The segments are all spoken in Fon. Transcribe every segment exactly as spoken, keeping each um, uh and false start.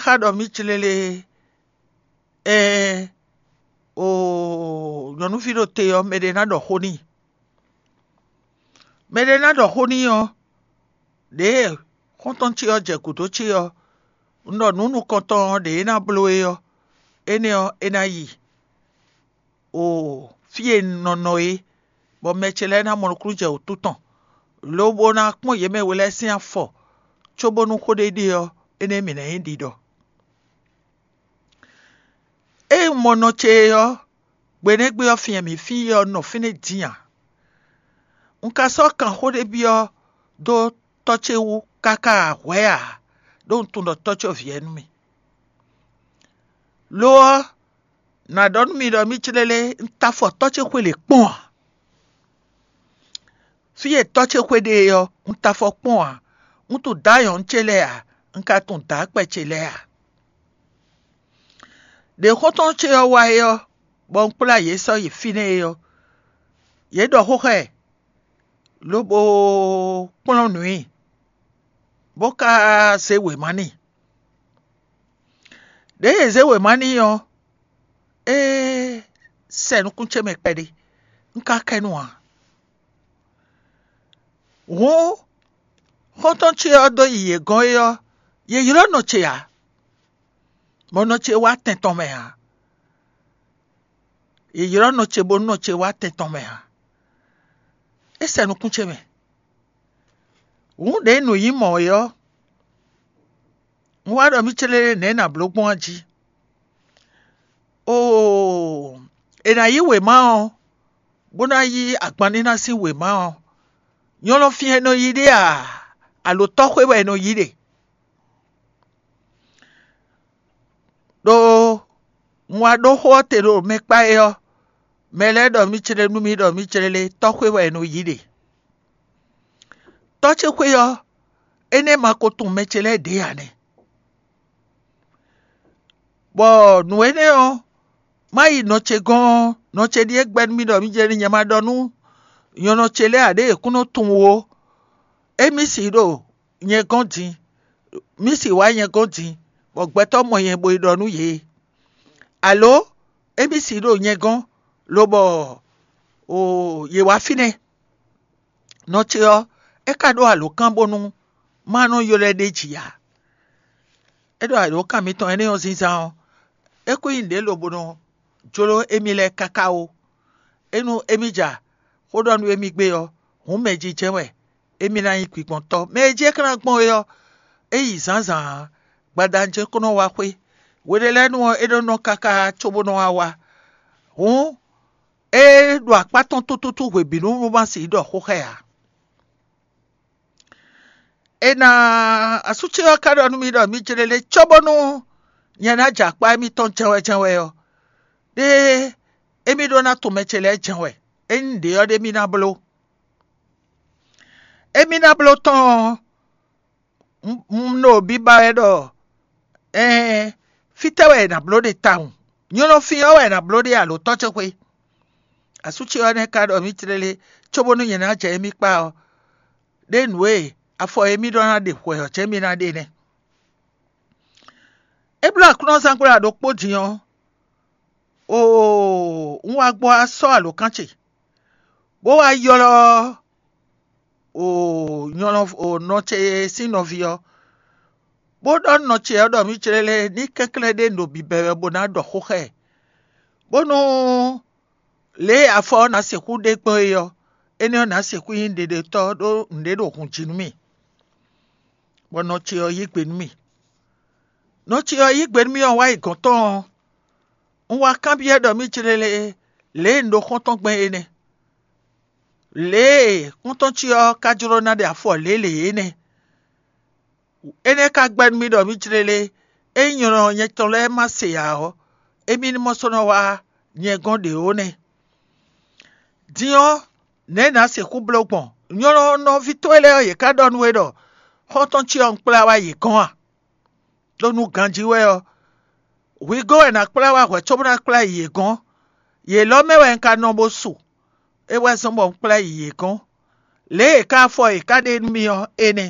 ka ɖɔ mì clélé, ɛɛ, oo, nyɔ̌nuví ɖo te ɔ́, mɛɖé ná ɖɔ xó n'i. Mɛɖé ná ɖɔ xó n'i ɔ́, ɖěe xɔ́ntɔn ce ɔ́ jɛ gǔdo ce ɔ́, un ɖɔ nǔ nukɔntɔn ɔ́, ɖě é ná bló é ɔ́, énɛ́ ɔ́, é ná yi o fí e un nɔ nɔ é, bɔ mɛ ce lɛ́ɛ ná mɔ nukúnnú jɛ wǔtu tɔn, lobo ná kpɔ́n yě mɛ we lɛ́ɛ sín afɔ, cóbónú xó ɖé ɖe ɔ́, énɛ́ mǐ ná nyí ɖiɖɔ. Ée un mɔ nɔ ce é ɔ́, gbe énɛ́ gbe ɔ́, fí e mǐ fín é ɔ́ nɔ fínɛ́ din ǎ. Un ka sɔ́ kanxó ɖé byɔ́ dó tɔ́ ce wú káká hwɛ̌ ǎ, ɖó un tunwun ɖɔ tɔ́ ce ɔ́ vǐ wɛ nú mì. Lo ɔ́, nǎ ɖɔ nú mi ɖɔ mì clélé, un ta afɔ tɔ́ ce xwé lě kpɔ́n ǎ. Fí e tɔ́ ce xwé ɖe é ɔ́, un ta afɔ kpɔ́n ǎ; un tunwun dǎ nyɔ̌nu ce lɛ́ɛ ǎ; un ka tunwun dǎ kpɛ ce lɛ́ɛ ǎ. Ɖě xɔ́ntɔn ce ɔ́ wá é ɔ́, bɔ un kplá yě sɔ́ yi fínɛ́ é ɔ́, yě ɖɔ xó xá ɛ, lobo kplɔ́n nǔ i, bó ka zé wěma n'i. Ɖěe yě zé wěma n'i ɔ́, é sɛ nukún ce mɛ kpɛɖé; un ka kɛ nu ǎ. Hǔn xɔ́ntɔn ce ɔ́ dó yi yě gɔ́n é ɔ́, yě ylɔ́ nɔ ce ǎ; bɔ nɔ ce wá tɛn tɔn mɛ ǎ. Yě ylɔ́ nɔ ce bónú nɔ ce wá tɛn tɔn mɛ ǎ. É sɛ nukún ce mɛ. Hǔn ɖě nǔ nyí mɔ̌ é ɔ́, un wá ɖɔ mì clélé nɛ̌ nǎ bló gbɔn ɔ́ jí. Oo, è nǎ yí wěma ɔ́, bó ná yí agbanníná sín wěma ɔ́, nyɔlɔfin wɛ è nɔ yí ɖe a, alo tɔ́xwé wɛ è nɔ yí ɖe? Ɖó un wá ɖó xó ɔ́ te ɖo mɛ kpá é ɔ́, mɛ lɛ́ɛ ɖɔ mì clé nú mì ɖɔ mì clélé tɔ́xwé wɛ è nɔ yí ɖe. Tɔ́ ce xwé ɔ́, énɛ́ ma ko tunwun mɛ ce lɛ́ɛ ɖě ǎ nɛ́. Bɔ nǔ énɛ́ ɔ́, má yi nɔ ce gɔ́n ɔ́, nɔ ce ɖíe gbɛ́ nú mì ɖɔ mì jɛ ní nyɛ ma ɖɔ nú nyɔ̌nu ce lɛ́ɛ ǎ ɖé yě kún nɔ tunwun ó. Émí si ɖo nyɛ gɔ́n din, mì si wá nyɛ gɔ́n din, bɔ gbɛtɔ́ mɔ nyɛ bo yi ɖɔ nú yě. Alo émí si ɖo nyɛ gɔ́n, lobɔ oo yě wá fínɛ́. Nɔ ce ɔ́, é ka ɖó alǒkan bónú má nɔ ylɔ́ ɛ ɖ'é jí ǎ. É ɖo alǒkan mitɔn énɛ́ ɔ́ zínzán ɔ́, é kún nyí nǔɖé lobo nɔ jló émí lɛ́ɛ káká ó. Ényí émí ja xó ɖɔ nú émí gbé ɔ́, hǔn mɛ jijɛ wɛ émí ná nyí gbigbɔntɔ́. Mɛ e jí é ka ná gbɔn é ɔ́, é yi zǎnzǎn ǎ; gbadanu ce kún nɔ wá xwé. Hwe ɖé lɛ́ɛ nu ɔ́, é nɔ nɔ káká cóbó nɔ wá wá. Hǔn é ɖo akpá tɔn tútútú hwebǐnu nú ma sixú ɖɔ xó xá ɛ ǎ. È nǎ asú ce ɔ́ ka ɖɔ nú mì ɖɔ mi jlé lé cóbónú nyɛ ná jɛ akpá émítɔn jɛ́nwɛ́jɛ́nwɛ ɔ́, ɖé émí ɖó ná tunwun mɛ ce lɛ́ɛ jɛ́nwɛ; ényí nǔɖé ɔ́ ɖé mì ná bló. Émí ná bló tɔn ɔ́, un ɖo biba wɛ ɖɔ ɛɛn, fítɛ́ wɛ è nǎ bló ɖe tawun? Nyɔ̌nu fí ɔ́ wɛ è nǎ bló ɖe alo tɔ́ ce xwé? Asú ce ɔ́ nɛ́ ka ɖɔ mì tlélé cóbónú nyɛ ná jɛ émí kpá ɔ́, ɖé nǔ e afɔ e mì ɖɔ ná ɖe hwɛ ɔ́ jɛ́n mì ná ɖe nɛ́. É bló aklúnɔzángbla ɖokpó din ɔ́, oo, un wá gbɔ wá sɔ́ alǒkan ce, bó wá ylɔ́ oo nyɔlɔ oo nɔ ce sín nɔví ɔ́, bó ɖɔ nú nɔ ce ɔ́ ɖɔ mì jlé lé ní kɛnklɛ́n ɖé ɖo bǐbɛ́ wɛ bó ná ɖɔ xó xá ɛ, bónú lě e afɔ ɔ́ ná sixú ɖe gbɔn é ɔ́, énɛ́ ɔ́ ná sixú nyí ɖeɖetɔ́ ɖó nǔɖé ɖo hun jí nú mì, bɔ nɔ ce ɔ́ yí gbe nú mì. Nɔ ce ɔ́ yí gbe nú mì ɔ́ wá yi gɔ̌n tɔn ɔ́, un wá kanbyɔ́ ɖɔ mì jlé lé lě e un ɖo xɔ́ntɔn gbɛn é nɛ́. Lě e xɔ́ntɔn ce ɔ́ ka jló ná ɖe afɔ lě lě é nɛ́. Énɛ́ ka gbɛ́ nú mì ɖɔ mì jlé lé, ényí nyɔ̌nu nyɛ tɔn lɛ́ɛ ma se ǎ ɔ́, émí ní mɔ sɔ́ nɔ wá nyɛ gɔ́n ɖě ó nɛ́. Din ɔ́, nɛ̌ nǎ sixú bló gbɔn? Nyɔ̌nu nɔví towe lɛ́ɛ ɔ́, yě ká ɖɔ nú we ɖɔ xɔ́ntɔn ce ɔ́ un kplá wá yě gɔ́n a? Ɖó nú ganjí wɛ ɔ́, hwi gɔ́n wɛ nǎ kplá wá hwɛ̌ cóbó ná kplá yi yě gɔ́n. Yě lɔ́ mɛ wɛ un ka nɔ bó su; é wɛ zɔ́n bɔ un kplá yi yě gɔ́n. Lě e è ká afɔ è ká ɖe nú mì ɔ́, é nɛ́.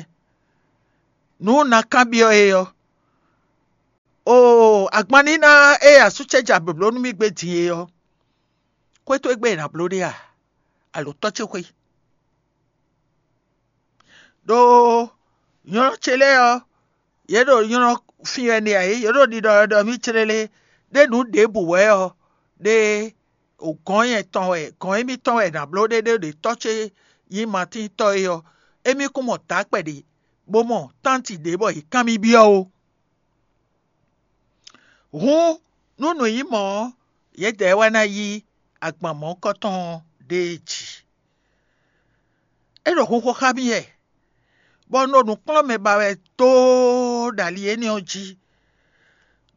Nǔ un ná kanbyɔ́ é ɔ́, Agbanníná e asú ce jɛ abǐbló nú mì gbé din é ɔ́, xwé towe gbe è nǎ bló ɖe a? Alo tɔ́ ce xwé? Ɖó nylɔ́ ce lɛ́ɛ ɔ́, yě ɖo nylɔ́ fín wɛ n'i ǎ é, yě ɖo ɖiɖɔ wɛ ɖɔ mì clélé, ɖé nǔ ɖěbǔ wɛ ɔ́, ɖé gɔ̌n nyɛtɔn wɛ, gɔ̌n émítɔn wɛ è nǎ bló ɖé ɖé ɖě tɔ́ ce nyí Matín tɔ́ é ɔ́, émí kún mɔ dǎkpɛ ɖě, bó mɔ tánti ɖě bɔ yě kán mì byɔ́ ó. Hǔn, nú nǔ nyí mɔ̌ ɔ́, yědɛɛ wɛ ná yí agban mɔ̌hunkɔtɔn ɔ́ ɖée jí. É ɖo hunxo xá mì wɛ, bɔ un ɖo nǔkplɔ́nmɛ ba wɛ doo ɖo ali énɛ́ ɔ́ jí.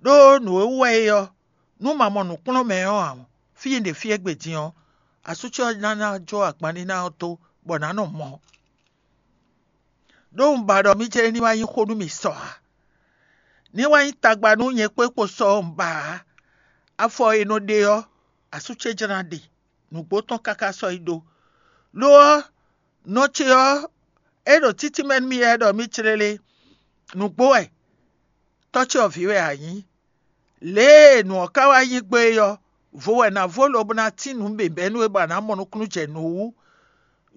Ɖó nǔ e wú wɛ é ɔ́, nú ma mɔ nǔkplɔ́nmɛ ɔ́ ǎ, fí e un ɖe fí égbé din ɔ́, asú ce ɔ́ ná ná jó agbanníná ɔ́ dó, bɔ nǎ nɔ mɔ. Ɖó un ba ɖɔ mì jlé ní wá nyí xó nú mì sɔ ǎ. Ní wá nyí tagba nú nyɛ kpó kpo sɔ ɔ́ un ba ǎ. Afɔ e nɔ ɖe ɔ́, asú ce jlá ɖe, nǔgbó tɔn káká sɔ́ yi ɖó. Lo ɔ́, nɔ ce ɔ́, é ɖo títí mɛ nú mì wɛ ɖɔ mì clélé. Nǔgbó wɛ, tɔ́ ce ɔ́ vǐ wɛ a nyǐ. Lě e nǔ ɔ́ ka wá nyí gbɔn é ɔ́, vo wɛ nǎ vo lobo ná tín nǔ bǐbɛ́ nú we bɔ a nǎ mɔ nukúnnú jɛ nǔ wú.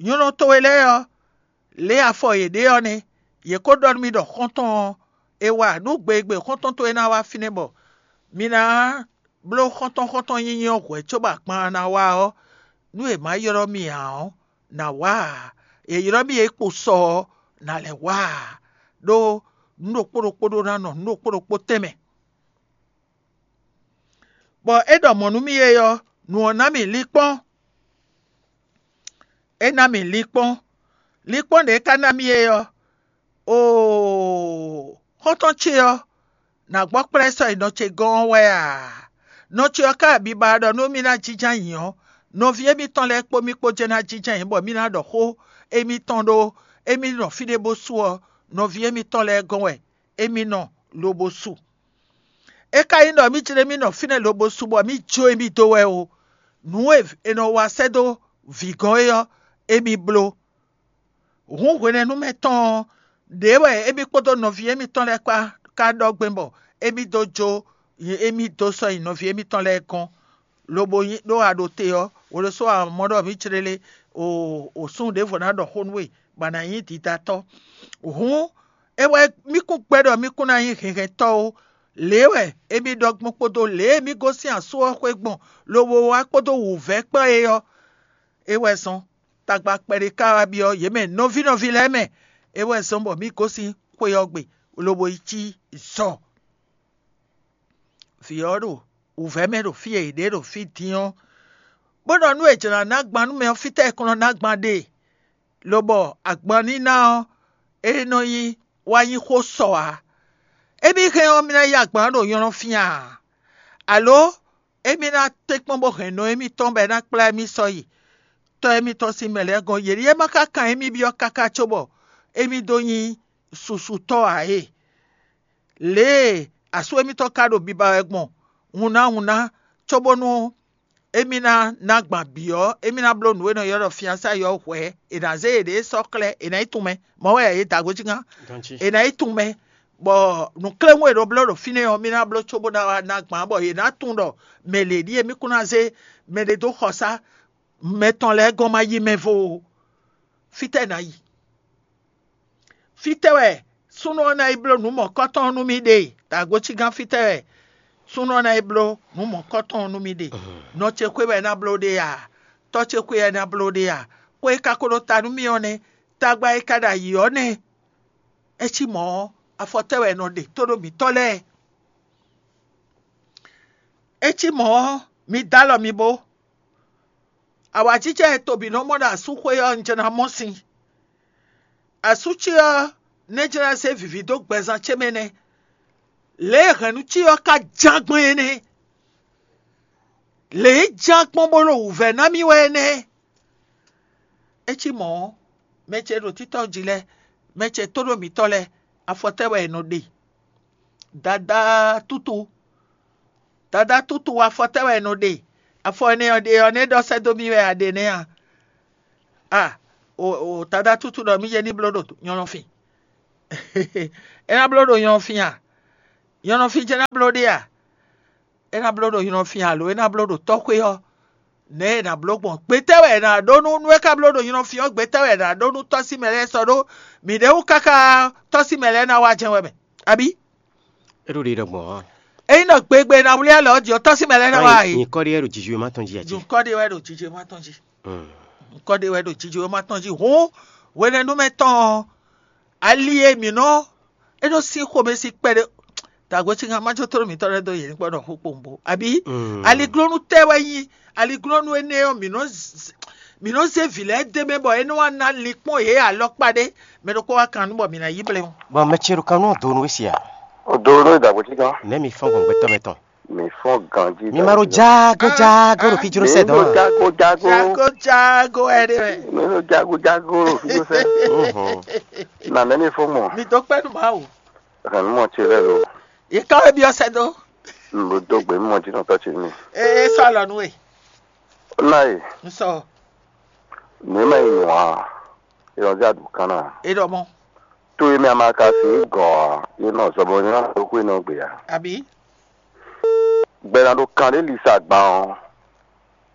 Nyɔ̌nu towe lɛ́ɛ ɔ́, lě e afɔ yě ɖe ɔ́ nɛ́; yě ko ɖɔ nú mì ɖɔ xɔ́ntɔn ɔ́, è wa nǔ gbe e gbe xɔ́ntɔn towe ná wá fínɛ́ bɔ mi ná bló xɔ́ntɔn xɔ́ntɔn nyinyi ɔ́ hwɛ̌ cóbɔ agban ná wá ɔ́, nú è má ylɔ́ mì ǎ ɔ́, nǎ wá ǎ; è ylɔ́ mì e kpo sɔ ɔ́, nǎ lɛ́ wá ǎ, ɖó nǔ ɖokpó ɖokpó ɖó ná nɔ nǔ ɖokpó ɖokpó tɛnmɛ. Bɔ é ɖɔ mɔ̌ nú mì é ɔ́, nǔ ɔ́ ná mì linkpɔ́n. É ná mì linkpɔ́n. Linkpɔ́n ɖě é ka ná mì é ɔ́, oo, xɔ́ntɔn ce ɔ́, nǎ gbɔ kplá ɛ sɔ́ yi nɔ ce gɔ́n ɔ́ wɛ a? Nɔ ce ɔ́ ka biba ɖɔ nú mì ná jínjɔ́n ayǐ ɔ́, nɔví émítɔn lɛ́ɛ kpó mì kpó jɛ́n ná jínjɔ́n ayǐ, bɔ mì ná ɖɔ xó émítɔn ɖó émí nɔ fí ɖé bó sú ɔ́, nɔví émítɔn lɛ́ɛ gɔ́n wɛ émí nɔ lobo su. É ka nyí ɖɔ mì jlé mì nɔ fínɛ́ lobo su bɔ mì jó émí dó wɛ ó, nǔ e è nɔ wa sɛ́ dó vǐ gɔ́n é ɔ́, émí bló. Hǔn hwenɛ́nu mɛ tɔn ɔ́, ɖě wɛ émí kpódó nɔví émítɔn lɛ́ɛ kpá ka ɖɔ gbɛn bɔ émí dó jó émí dó sɔ́ nyi nɔví émítɔn lɛ́ɛ gɔ́n, lobo nyí ɖó a ɖo te ɔ́, hwelosó a mɔ ɖɔ mǐ clélé o o súnnu ɖěvo ná ɖɔ xó nú we, bɔ a nǎ nyí didatɔ́. Hǔn é wɛ mì kún gbɛ́ ɖɔ mì kún ná nyí hɛnhɛntɔ́ ó. Lě wɛ émí ɖɔ gbɔn kpódó lě e mì gosín asú ɔ́ xwé gbɔn, lobo wá kpódó wǔvɛ́ kpán é ɔ́, é wɛ zɔ́n. Tagba kpɛɖé ka wá byɔ́ yě mɛ nɔví nɔví lɛ́ɛ mɛ, é wɛ zɔ́n bɔ mì gosín xwe ɔ́ gbe, lobo yi cí zɔ. Vǐ ɔ́ ɖo wǔvɛ́ mɛ ɖo fí e è ɖe ɖo fí din ɔ́, bó ɖɔ nú è jlǎ ná gban nú mɛ ɔ́, fítɛ́ è kɔn nɔ ná gban ɖe, lobɔ agban ní ná ɔ́, é nɔ nyí wá nyí xó sɔ ǎ. Émí hɛn ɔ́, mì ná yí agban ɖo nylɔ́ fían a? Alo émí ná tɛ́nkpɔ́n bó hɛn nɔ émítɔn bɔ é ná kplá émí sɔ́ yi tɔ́ émítɔn sín mɛ lɛ́ɛ gɔ́n? Yě ɖíe ma ka kan émí byɔ́ káká cóbɔ émí dó nyí susutɔ́ ǎ e? Lě e asú émítɔn ka ɖo biba wɛ gbɔn hunná hunná, cóbónú émí ná ná gban bǐ ɔ́, émí ná bló nǔ e nɔ ylɔ́ ɖɔ fiansáyi ɔ́ hwɛ̌, è nǎ zé yěɖée sɔ́ xlɛ́, è nǎ yi tunwun mɛ. Mɔ̌ wɛ yě da gǒ cí gán. È nǎ yi tunwun mɛ, bɔ nǔkléwún e è nɔ bló ɖo fínɛ́ ɔ́, mì ná bló cóbó ná wá ná gban, bɔ yě ná tunwun ɖɔ mɛ lě ɖíe mì kún ná zé mɛɖé dó xɔsá mɛ tɔn lɛ́ɛ gɔ́n ma yí mɛ vo ó. Fítɛ́ ná yi? Fítɛ́ wɛ súnnu ɔ́ ná yi bló nǔ mɔ̌kɔ́tɔn ɔ́ nú mì ɖe? Dǎgocí gán fítɛ́ wɛ súnnu ɔ́ ná yi bló nǔ mɔ̌kɔ́tɔn ɔ́ nú mì ɖe? Nɔ ce xwé wɛ é ná bló ɖe a? Tɔ́ ce xwé wɛ é ná bló ɖe a? Xó e ka ko ɖo ta nú mì ɔ́ nɛ́, tagba e ka ɖo ayǐ ɔ́ nɛ́. É cí mɔ̌ ɔ́, afɔtɛ́ wɛ è nɔ ɖe tóɖó mǐtɔn lɛ́ɛ. É cí mɔ̌ ɔ́, mi dó alɔ mi bó. Awǎjijɛ e tobǐ nɔ mɔ ɖo asúxwé ɔ́, un jɛ ná mɔ sin. Asú ce ɔ́ nɛ́ jɛ ná zé vǐví dó gbɛzán ce mɛ nɛ́. Lě e hɛ̌nnu ce ɔ́ ka ján gbɔn é nɛ́. Lě e ján gbɔn bó ɖo wǔvɛ́ ná mì wɛ é nɛ́. É cí mɔ̌ ɔ́, mɛ ce ɖo títɔ́ jí lɛ́ɛ, mɛ ce tóɖó mǐtɔn lɛ́ɛ, afɔtɛ́ wɛ è nɔ ɖe. Dadá tútu, dadá tútu, afɔtɛ́ wɛ è nɔ ɖe. Afɔ énɛ́ ɔ́ ɖe ɔ́, nɛ́ ɖɔ sɛ́ dó mì wɛ a ɖe nɛ́ a? A, o, o dadá tútu ɖɔ mì jɛ ní bló ɖo nyɔlɔfin. É ná bló ɖo nyɔlɔfin a? Nyɔlɔfin jɛ ná bló ɖe a? É ná bló ɖo nylɔ fín alo é ná bló ɖo tɔ́xwé ɔ́, nɛ̌ è nǎ bló gbɔn? Gbetɛ́ wɛ è nǎ ɖó nú nú é ka bló ɖo nylɔ fín ɔ́? Gbetɛ́ wɛ è nǎ ɖó nú tɔ́símɛ lɛ́ɛ sɔ́ ɖó mǐɖée wú káká tɔ́símɛ lɛ́ɛ ná wá jɛ́n wɛ mɛ? Abí? É ɖo ɖiɖɔ gbɔn ɔ́. Ényí ɖɔ gbegbe è nǎ wlí alɔ ɔ́ jí ɔ́, tɔ́símɛ lɛ́ɛ ná wá a yě? Nyikɔ ɖé wɛ ɖo jiji wɛ má tɔn jí ati. Nyikɔ ɖé wɛ ɖo jiji má tɔn jí. Nyikɔ ɖé wɛ ɖo jiji má tɔn jí. Hǔn hwenɛ́nu mɛ tɔn ɔ́, ali e mǐ nɔ é nɔ sín xomɛ sín kpɛɖé. Dǎgbó cíkan má jó tló mǐtɔn lɛ́ɛ dó yě ní gbɔdɔ xó kpowun bó abí? Aliglónú tɛ́ wɛ nyí aliglónú énɛ́ ɔ́, mǐ nɔ z- mǐ nɔ zé vǐ lɛ́ɛ dó mɛ bɔ é nɔ wá ná linkpɔ́n yě alɔkpa ɖé. Mɛ ɖokpó wá kan nú bɔ mǐ ná yí blɛ́ ɔ́. Bɔ mɛ ce ɖo kan nú ɔ́ do nú we sia. O do nú ìdàgbò títàn. Nɛ̌ mi fɔ́n gbɔn gbɛtɔ́ mɛ tɔn? Mi fɔn ganji. Mi ma ɖo jágó jágó ɖo fíjló sɛ dɔn a? Jágó jágó. Jago jago ɛɖe wɛ. Mi ɖo jágó jágó ɖo fíjló sɛ. Nà nɛ́ mi fɔn mɔ. Mi dó kpɛ́ nú Mawu. Hɛn mɔ ce lɛ lo. Yě ká wɛ byɔ́ sɛ dó. N ɖo dó gbe mɔ jí nɔtɔ ce mi. Ee sɔ alɔ nú we. Ná yi. N sɔ. Nǔ e mɛ yi nǔ a. Ìrọ̀lẹ́ àdùkán náà. E ɖɔ mɔ. Tó e mɛ a ma ka sí gɔ̌ ɔ́, é nɔ zɔ bɔ nyɔ́ ɖo xwé nɔ gbe ǎ. Àbí? Gbɛ́ná ɖo kan ɖé lisa gban ɔ́,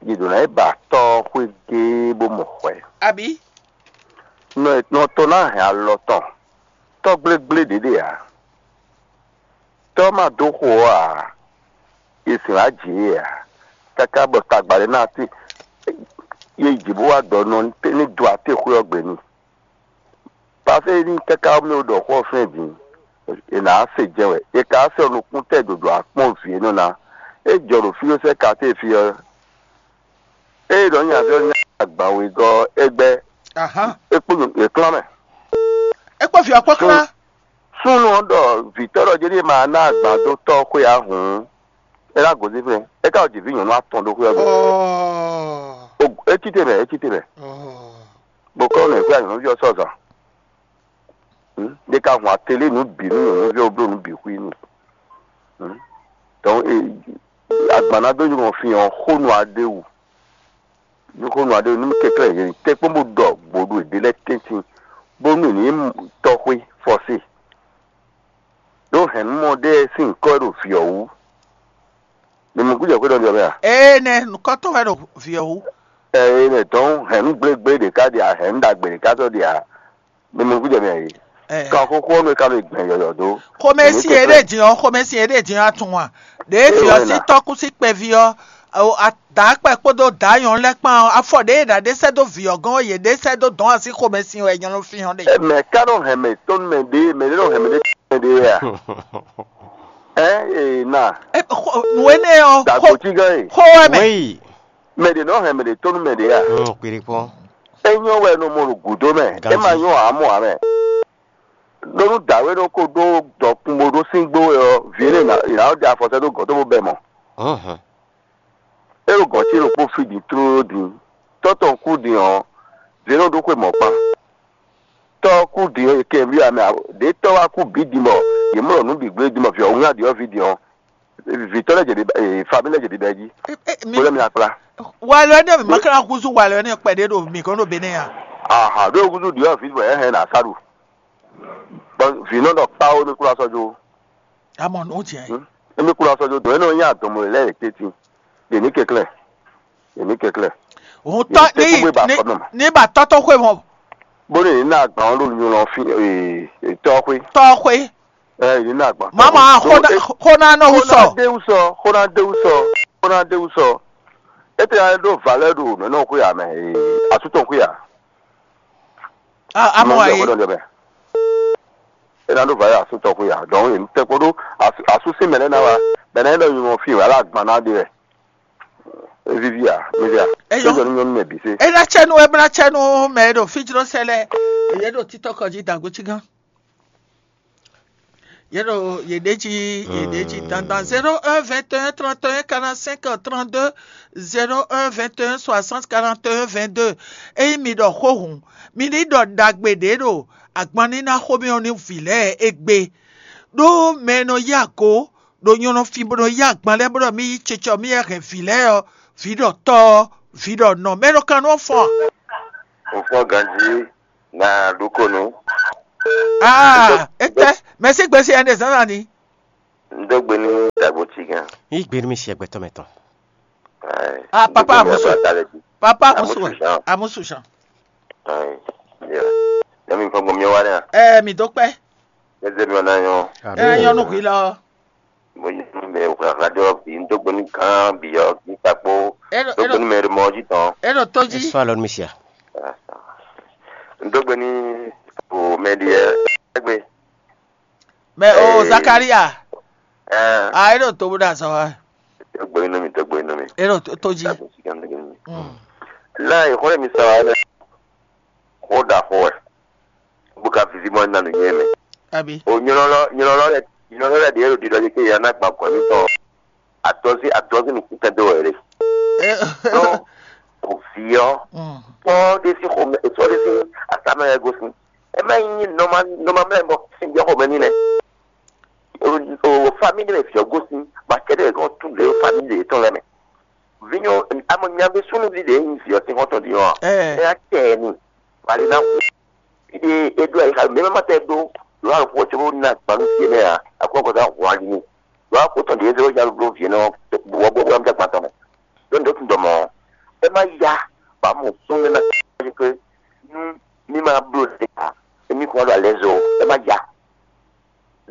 yě ɖǒ ná yi ba tɔ́ xwé géé bó mɔ hwɛ. Àbí? Nɔ nɔ tɔ́ ná hɛn alɔ tɔn, tɔ́ gblégblé ɖě ɖe ǎ. Tɔ́ ma dó xo ɔ́ ǎ, è sǐn wá jǐ é ǎ, káká bɔ tagba ɖé ná ti ye jǐ bó wá dɔ nɔ ní do atéxwé ɔ́ gbe n'i. Paseke ní káká mɛ ɖɔ xó ɔ́ fɛ́n din, è nǎ se jɛ wɛ. È ka se ɔ́ nukún tɛ dǒdó akpɔ́n vǐ e nɔ ná. É jɔ ɖo fí ɔ́ sɛ́ ka té fí ɔ́, ée ɖɔ nyí azɔ́ nyá agban wegɔ́ ɔ́, é gbɛ́ Ahan. é kpó è klán mɛ. É kpó vǐ ɔ́ kpó klán. Súnnu ɔ́ ɖɔ vǐtɔ́ ɖɔ jɛ́ ɖíe ma ná agban dó tɔ́ xwé ǎ hǔn, é ná gosín fɛ́n. É ka ɖo jǐví nyɔ̌nu atɔn ɖó xwé ɔ́ gbe. Ɔɔ. O- É cí te mɛ, é cí te mɛ. Ɔɔ. Bó kɔ́ nɔ ìxwé anyɔ̌núví ɔ́ sɔ́ zan. Ɖé ka hun atélé nǔ bǐ nú nyɔ̌núví ɔ́ bló nǔ bǐ xwí n'i. Donc agban ná dó nyɔ́ fin ɔ́ xó nú aɖéwu. Ní xó nú aɖéwu nú kɛklɛ́ yě tɛ́ kpɔ́n bó ɖɔ gbǒɖu è ɖe lɛ́ɛ tɛ́ntin bónú è ní tɔ́xwé fɔ́sé. Ɖó hɛ̌nnumɔ ɖé sín nyǐkɔ wɛ ɖo vǐ ɔ́ wú. Mi mɔ gújɛ xwé ɖɔ ɖɔ mɛ a? Ee nɛ nukɔntɔn wɛ ɖo vǐ ɔ́ wú. Ɛ ɛ nɛ dɔn hɛ̌nnu gblégblé ɖě ká ɖe a hɛ̌nnu ɖagbe ɖě ká sɔ́ ɖe a? Mi mɔ gújɛ mɛ a? Ɛ. Kan xóxó ɔ́ nú é ká nɔ gbɛn yɔ̌yɔ́ dó. Xomɛsin e ɖe din ɔ́, xomɛsin e ɖe din ɔ́ atun a? Ɖě vǐ ɔ́ sín tɔ́kú sín kpɛví ɔ́, o- a- dǎ kpɛ kpódó dǎ nyɔ̌nu lɛ́ɛ kpán ɔ́, afɔ ɖě e ɖǎ ɖé sɛ́ dó vǐ ɔ́ gɔ́n ɔ́, yě ɖé sɛ́ dó dɔ̌n así xomɛsin wɛ nyɔ̌nu fín ɔ́ ɖe. Ɛ, mɛ ká nɔ hɛn mɛ tɔn mɛ ɖé mɛ ɖé nɔ hɛn mɛ ɖé tɔn mɛ ɖé wɛ a? Ɛ ee na. Ɛ, xɔ- Nǔ énɛ́ ɔ́, Dàgbò cí gán e. Xó wɛ mɛ. Wéyì. Mɛ ɖě nɔ hɛn mɛ ɖě tɔn nú mɛ ɖě a? Hum, kpiri kpɔn. É nyɔ́ wɛ nɔ mɔ ɖo gǔdo mɛ. É ma Ganji. Nyɔ́ ǎ mɔ ǎ mɛ. Ɖó nú dǎwe ɖó kó ɖó dɔkun bó ɖó sín gbó wɛ ɔ́, vǐ énɛ́ ná ná ɖe afɔ sɛ́ dó gɔ̌ tó bó bɛ mɔ. Hum, É ɖo gɔ̌ ce ɖokpó fí din tlóló din. Tɔ́ tɔn kú din ɔ́, vǐ énɛ́ ɖó xwe mɔ̌ kpán. Tɔ́ ɔ́ kú din ɔ́, è kɛ vǐ amɛ ǎ. Ɖě tɔ́ wá kú bǐ din bɔ yě mɔ ɖɔ nǔ bǐ gblé din bɔ vǐ ɔ́ wún adǐ ɔ́ ví din ɔ́, vǐtɔ́ lɛ́ɛ jɛ ɖiɖa, ee, famille lɛ́ɛ jɛ ɖiɖa jí. Ɛ, ɛ, mi- Bó lɛ́ mi akpla. Walɔ énɛ́ mi ma ka húzú walɔ énɛ́ kpɛɖé ɖo mi gɔ́n ɖo Benɛ́ ya. Aha, ɖó húzú ɖiɔ vǐ bɔ ɛ hɛn na sa ɖu. Bɔ vǐ nɔ ɖɔ kpá ó mi kúrò asɔjo. Amɔ nù jɛ. Hmm? Emi kúrò asɔjo dɔn ɛ nɔ nya dɔmɔ lɛ lɛ teti. Yèmí kɛklɛ. Yèmí kɛklɛ. Òun tọ́ Yèmí tẹ́ kó gbé ba ní fɔnɔ ma. ní ba tɔ́tɔ́ xwe mɔ Bó ní ní agban ɔ́ ɖo nyɔ lɔ fi ee tɔ́ xwé. tɔ́ xwe. Ɛ yìí ní agban. Mama Do- xona e- xona nɔ wú sɔ. Xona déwu sɔ, xona déwu sɔ, xona déwu sɔ. Ete ya ɖo valeur ɖo nɔnɔ xwe ya mɛ ee asutɔ xwe ya. A- Amɔ Mɔ ayi. Xwe ɖɔ mɛ. Ena ɖo valeur asutɔ xwe ya. Donc yìí tɛ kpo ɖo asu- asusi mɛ lɛ na wa. Bɛnɛ ɖɔ nyɔ fi wa la agban na de wɛ. Evivi ya, mi via. Eyɔ. Sɔjɔ ni nyɔnu mɛ bi se. Ena tsɛnu ebla tsɛnu mɛ ɖo fijlɔ sɛ lɛ. Eye ɖo titɔ kɔdzi dagbo tsi gán. Ye ɖo ye ɖe dzi ye ɖe dzi dandan zéro un vingt et un trente et un quarante-cinq trente-deux, zéro un vingt et un soixante quarante et un vingt-deux. Eyi mi ɖɔ xó hǔn, mi ní ɖɔ ɖagbe ɖě ɖo agbanníná xomɛ ɔ́ ní vǐ lɛ́ɛ égbé. Ɖó mɛ e nɔ yí ago ɖo nyɔ̌nu fí bó nɔ yí agban lɛ́ɛ bó ɖɔ mì yí cecɔ mì yɛ hɛn vǐ lɛ́ɛ ɔ́, vǐ ɖɔ tɔ́ ɔ́, vǐ ɖɔ nɔ. Mɛ ɖo kan nú ɔ́ fɔ́n a? Òfò ganji na ɖokonu. Aa, etɛ, mɛ sí gbèsè ɛnɛ zǎnzǎn ni. Ndógbe ní Bó cí gán. Yí gbe nú mi si ẹgbẹtɔ mɛ tɔn. Ai. Ah, papa Gbogbo mi Amusu. Aba ta lɛ di. Papa Amusu Amusu wɛ. Jean. Amusu Jean. Ai. Yeah. Ne mi fɔ gbɔ mi wa ne. Eh, mi dó kpɛ. Ne ze mi wa na yɔ. Eh, yɔnu hwi lɔ. Mo yi mi me wa radio bi n dó gbɔ ni kan bi yɔ ni pa kpo. Eno, dó gbɔ ni me mo ji tɔn. Eno toji. Eso alɔ mi sia. N dó gbɔ ni o me di ɛ gbe. Mɛ o Zakaria. Ah, e ɖo to bó ɖo azɔ wa. Tɔgbo inú mi, tɔgbo inú mi. E ɖo to jí. Tɔgbo sí kan tɔgbo inú mi. Láì xɔlẹ̀ mi sara ɛ. Xó da xó ɛ. Bó ka vivi mɔ nanu nyɛ mɛ. Abi. O nyɔlɔ nyɔlɔ lɛ nyɔlɔ lɛ ɖe ɖo ɖiɖɔ ɖe ke ya ná gba kɔ mi tɔn. Atɔzi atɔzi nu kúkɛ do wɛ ɖe. Tó o fi ɔ. Tɔ ɖe si xɔmɛ tɔ ɖe si asamɛ yɛ gosin. Ɛ má nyí nɔma nɔma mlɛ bɔ sin jɛ xɔmɛ ní nɛ. O famille ɖé me fiɔ gosin ba kɛɖɛ kɔ tu le famille ɖé tɔn lɛ mɛ. Vinyo amɔ nyambe súnúví ɖé nyi fiɔ sin xɔtɔn ɖi ɔ. Ɛ. Ɛ atɛ ni. Wali na hu. Ide edu ayi xa mɛ ma tɛ do. Lo alo kɔ tso na gbanu fiɛ mɛ a akɔ kɔ da hu ali ni. Lo akɔ tɔn ɖe zero ja lo fiɛ nɔ. Wɔ bɔ bɔ mi da gbantɔ mɛ. Lo ndo tun dɔ mɔ. Ɛ ma ya. Ba mo sún mɛ na. Ke nu mi ma blo de ka. Emi kɔ do alɛ zo. Ɛ ma ya.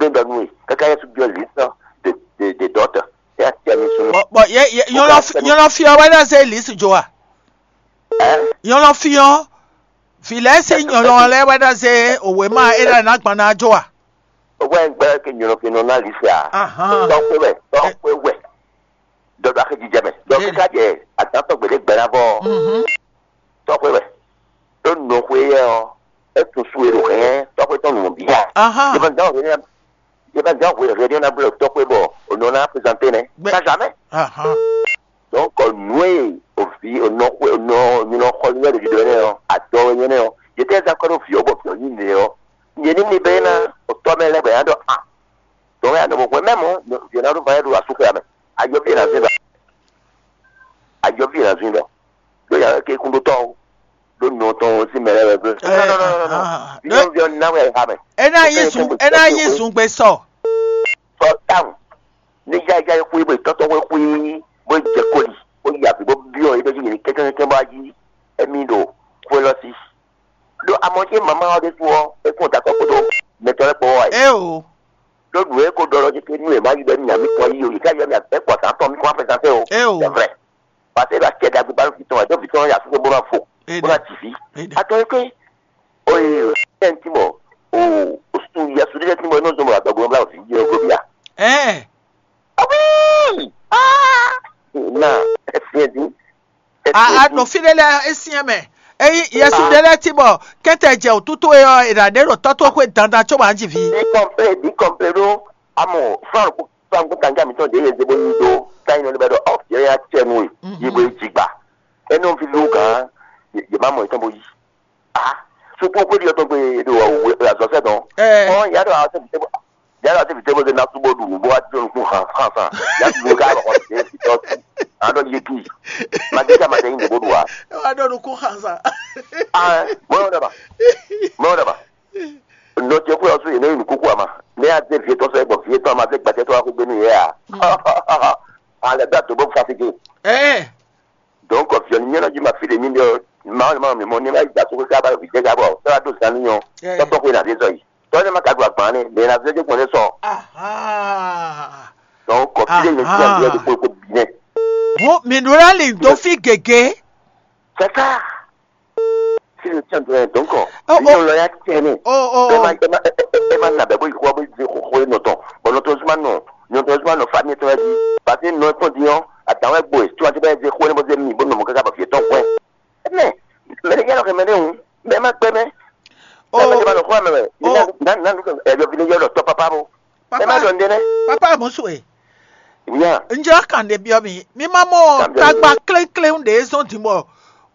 Ɖo ɖɔ nú we, káká Yɛsu byɔ́ lǐsɔ de de de dɔ̌tɔ, é ná tɛ mi sún. Bɔ bɔ yɛ yɛ nyɔlɔ fi nyɔlɔ fi ɔ wɛ ɖɔ zé lǐsu jo wa. Ɛ? Nyɔlɔ fi ɔ, fi lɛ se nyɔlɔ lɛ wɛ ɖɔ zé òwe ma é ɖɔ ná gbɔn ná jo wa. Ó wá ń gbẹ́ kí nyɔlɔ fi nɔ ná lǐsɛ à. Ahán. Tɔ́pẹ́ wẹ̀, tɔ́pẹ́ wẹ̀. Dɔdɔ axi jijɛ mɛ. Dɔ kíkà jɛ àtàtọ̀ gbèdé gbɛ̀rà bɔ. Mhm. Tɔxwé wɛ. Ɖó nɔxwé yɛ ɔ́, é tunwun su e ɖo hɛn tɔxwé tɔn nǔ bia. Aha. Yɛ ma dán hwenu yɛ ma dán hwenu hwenu na blɔ tɔxwé bɔ o nɔ na présenté nɛ. Bɛ- Pas jamais. Aha. Donc nǔ e o vi o nɔ xwé o nɔ nyinɔ xɔ nyɛ ɖe ɖiɖɔ nɛ ɔ, adɔ nyɛ nɛ ɔ, yɛ tɛ zan kɔ ɖo vi ɔ bɔ vi ɔ nyi nɛ ɔ, nyɛ ní mi bɛ na o tɔ mɛ lɛ bɛ ya ɖɔ a. Donc ya nɔ bɔ hwɛ mɛ mɔ vi ɔ na ɖo va yɛ ɖo asúxɛ amɛ. Ayɔ vi na zin ɖɔ. Ayɔ vi na zin ɖɔ. Ɖó ya ke kún ɖó tɔ́ o. Ɖó nɔ tɔn o sí mɛ lɛ wɛ. Ɛ, ah, ah, ah. Vinyɔn vinyɔn na wɛ ha mɛ. Ena yi sun ena yi sun gbe sɔ. Sɔ tawun. Ní yá yá xwé bó tɔ́tɔ́ xwé xwé bó jɛ koli bó yi àbí bó byɔ́ yé bɛ yí yé kɛ́kɛ́kɛ́ bó ayi. Emi ɖo xwé lɔ sí. Ɖó amɔ jɛ mama ɔ ɖésú ɔ é kún takɔ kpódó mɛtɔ́ lɛ́ kpó wá yi. Eo. Ɖó nǔ e ko ɖɔ ɔ́ jí nú è má yi ɖɔ nú nya mǐtɔn yí o, yě ká yɔ mì abɛ̌ kpɔ̌ zǎn tɔn mì kún wá fɛ́sán fɛ o. Eo. C'est vrai. Parce que é ɖo acɛ ɖagbe ba nú vǐ tɔn wɛ, ɖó vǐ tɔn yá fúnfún bó ná fo, bó ná jǐ fí. Atɔn é ké. Oye, é ń tímɔ, o, o su yɛ su ɖé tímɔ, é nɔ zɔn bɔ agbègbè ɔ́ bla vǐ yɛ glo bia. Ɛɛ. Ah oui! Ah! Na, é fiɛ dín. A a nɔ fí ɖé lɛ́ɛ é syɛ́n mɛ. Ényí Yɛsu ɖé lɛ́ɛ cí bɔ kɛ́ntɛ jɛ wǔtútú é ɔ́, è nǎ ɖe ɖo tɔ́ towe xwé dandan cóbɔ a jí vǐ. Bí kɔnplé bí kɔnplé ɖó amɔ fúlànù kú fúlànù kú kanga mǐtɔn ɖě yě zé bó yí ɖó táyínɔ lé bɛ ɖɔ ɔ yě ya cɛ nú we yí bó yí jigba. É nɔ fi lú gǎn yě má mɔ yětɔn bó yí. A suku xwé ɖi ɔtɔn gbe ɖo azɔ̌ sɛ dɔn. Ɔ yǎ ɖɔ a sɛ vǐ tɛ́ bó yǎ ɖɔ a sɛ vǐ tɛ́ bó zé ná sú bó ɖu nǔ bó wá jɔ nukún hàn hàn sàn yǎ ɖu nǔ ká lɔ xɔ tɛ fi tɔ tu. A ɖɔ yé kí. Magíta ma tɛ yín nǔ bó ɖu wa. Ẹ wá ɖɔ nukún hàn sàn. Ah, mɔyɔ daba. Mɔyɔ daba. Nɔ ce xwé ɔsú yě nɔ yi nǔkúkú ama. Nɛ a zé vie tɔn sɛ gbɔ vie tɔn ama zé gbɛtɛ tɔn axu gbénu yɛ a. Alɛ gbɛ ato bó fa fi gé. Ɛ. Donc viɔ ni nyɛnɔ ji ma fi de mi de ma ma mi mo ni ma yi da so ka ba vi de ka bɔ. Sɛ wa do zan ni yɔ. Tɔtɔ ko na de sɔ yi. Tɔ ne ma ka do agban ne, de na zé de gbɔn ne sɔ. Aha. Donc kɔ fi de ne ti a de ko ko bi ne. Bon, mi nura li do fi gege. C'est ça. Si le tient de donc. Oh, oh. Lɔ ya tiɲɛ ne. Oh, oh. Ema ema ema na bɛ bo yi xɔ bo yi xɔ ye nɔtɔn. Bon nɔtɔn zuma nɔ nɔtɔn zuma nɔ famille tɔn di. Parce que nɔ tɔn di yɔn. Atan wɛ gbo ye. Tu as bɛ ze xɔ ne bo ze mi bo nɔ mo kaka ba fi tɔn kɔn. Mɛ mɛ ne yɛlɛ kɛ mɛ ne ŋu. Mɛ ma gbɛ mɛ. Oh. Mɛ ma gbɛ mɛ. Na na nu kɛ ɛ yɔ fi ne yɔ lɔ tɔ papa bo. Ẹ má dɔn dɛ nɛ. Papa musu e. Nya. N jɔ kan ɖe biɔ mi. Mi ma mɔ tagba klékléŋ ɖe zɔn din bɔ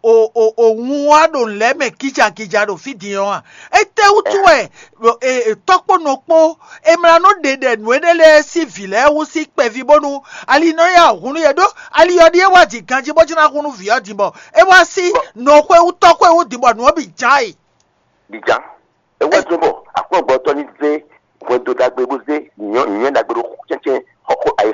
o o o ŋun wa ɖo lɛ mɛ gija gija ɖo fi din ɔ a. Ete wutu wɛ e e tɔkpo nɔ kpo emla nɔ ɖe ɖɛ nǔ eɖe lɛ si vi lɛ wu si kpɛvi bónú ali nɔ ya hun nú yɛ ɖó ali ɔ ɖi e wa ji ganji bó jina hun nú vi ɔ din bɔ e wa si nɔ xwe wu tɔ xwe wu din bɔ nǔ ɔ bi ja yi. Bi ja. Ewé tó bọ̀ àkúrọ̀gbọ́ tọ́ ní zé hwɛndo dagbe bó zé nyɔ̌ nyɔ̌ dagbe ɖó cɛ́cɛ́ xɔxɔ ayé